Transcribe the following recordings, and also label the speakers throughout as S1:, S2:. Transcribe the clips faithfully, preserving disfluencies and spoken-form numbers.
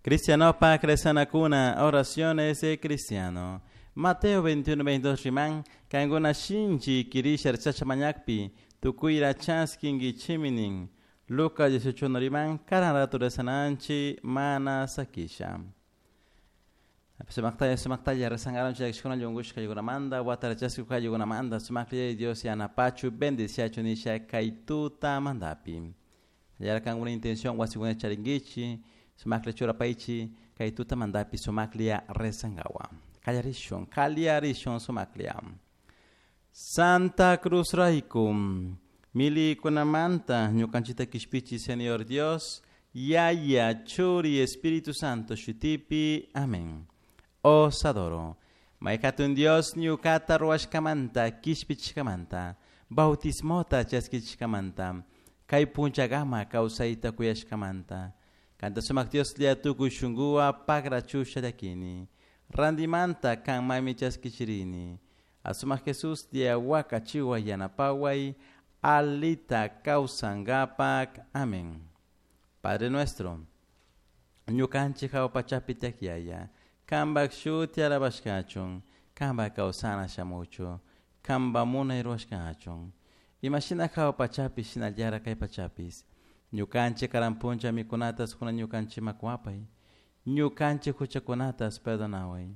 S1: Cristianopak rezanakuna, oraciones de cristiano. Mateo veintiuno veintidós riman, kankuna shinchi kirisha rezasha mañakpi, tukuyra chaskinkichimi nin. Lucas dieciocho uno riman, karan ratu rezananchi mana sakisha. Sumaktaya, sumaktaya, rezangaron chayakshkuna yungushka yugunamanda, watarachasku yugunamanda, sumakliya Dios yanapachu, bendiciachu nisha kaituta mandapi. Yarkan una intención wasikuna charingichi, sumakliya churapaichi, kaituta mandapi, sumakliya rezangawa. Kallarishun, kallarishun sumakliya. Santa Cruz Raikum, milikunamanta, ñukanchita kishpichi, Señor Dios, Yaya, Churi, Espíritu Santo, Shutipi, amén. Os adoro. Maikatun Dios ñukata ruwashkamanta, kishpichkamanta, bautismota chaskichkamanta, kay punchagama kawsayta kuyashkamanta. Kanta sumak Dios lia tukuy shunguwa pagrachusha llakini. Randimanta kan mami chaskichirini. Asumak Jesús lia wakachiwa yanapaway, alita kawsangapak. Amén. Padre nuestro, ñukanchik hawa pachapi tiak Kambak shuti alabashkachun, kamba kawsana shamuchu, kamba munay ruwashkachun. Imashina hawa pachapi shinallara kay pachapis. Ñukanchik karan puncha mikunatas kuna ñukanchik makuapay. Ñukanchik huchakunatas perdonaway.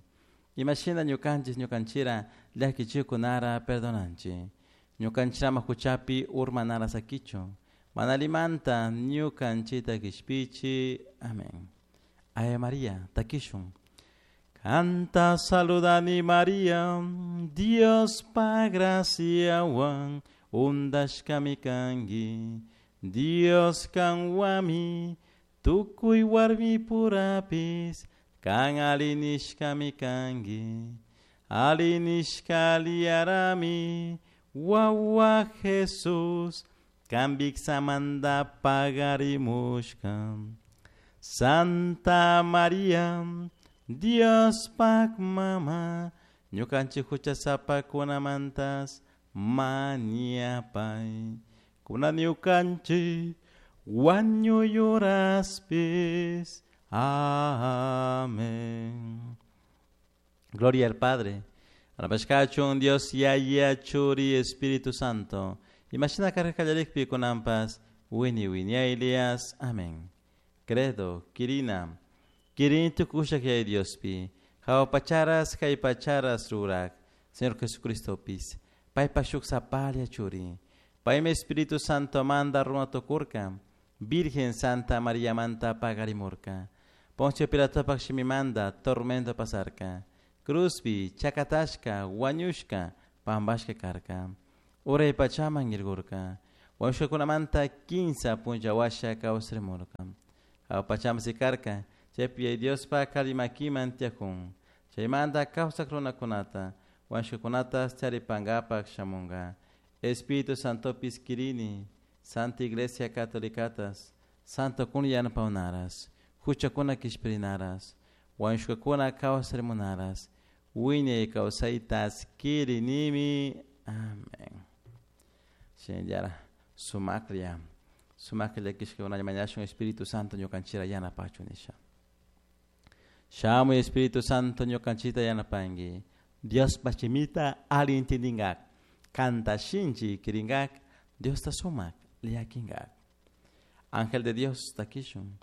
S1: Imashina ñukanchik ñukanchira llakichikunara perdonanchik. Ñukanchirama huchapi urmanara sakichu. Manalimanta ñukanchita kishpichi. Amén. Ave María, takishun. Canta saludani María, Dios pa gracia wan, undashkami kanki, Dios kanwami, tukuy warmi purapis, kan alinishkami kanki, alinishka liarami, wawa Jesús, kan viksamanta pagarimushka. Santa María, Dios pak mama, ñukanchik huchasapakunamantas mañapay. Kuna ñukanchik wañuyuraspis. Amén. Gloria al Padre. Alabashkachun Dios Yaya Churi Espíritu Santo. Imashina karkallarikpi kunampas wini winiaylias. Amén. Credo, Kirina. Kirin tukushak yay Diospi. Hawa pacharas kay pacharas rurak. Señor Jesucristo pis. Paypa shuk sapalia churi. Paymi Espíritu Santo manda runa tukurka. Virgen Santa María manta pagarimurka. Poncio Pilatopak shimimanda tormento pasarka. Cruzpi, chakatashka, wañushka, pambashka karka. Uray pachaman irgurka. Wañushkakunamanta kinsa punchawasha kawsarimurka. Hawa pachaman sikarka. Chaypi Diospa kalimakiman tiyakun. Chaymanta kawsak runakunata, wañushkakunata charipankapak shamunka. Espíritu Santopis kirini, Santa Iglesia Catolicatas, Santo kun yanapawnaras, huchakuna kishpirinaras, wañushkakuna kawsarimunaras, wiñay kawsaytas kirinimi. Amén. Shinallara sumaklla, sumaklla kishkakunalla mañashun Espíritu Santo ñukanchira yanapachu nisha. Shamuy Espíritu Santo ñukanchita yanapanki. Dios pachimita ali intindingak. Kanta shinchi kiringak. Dios ta sumak liakingak. Ángel de Dios takishun.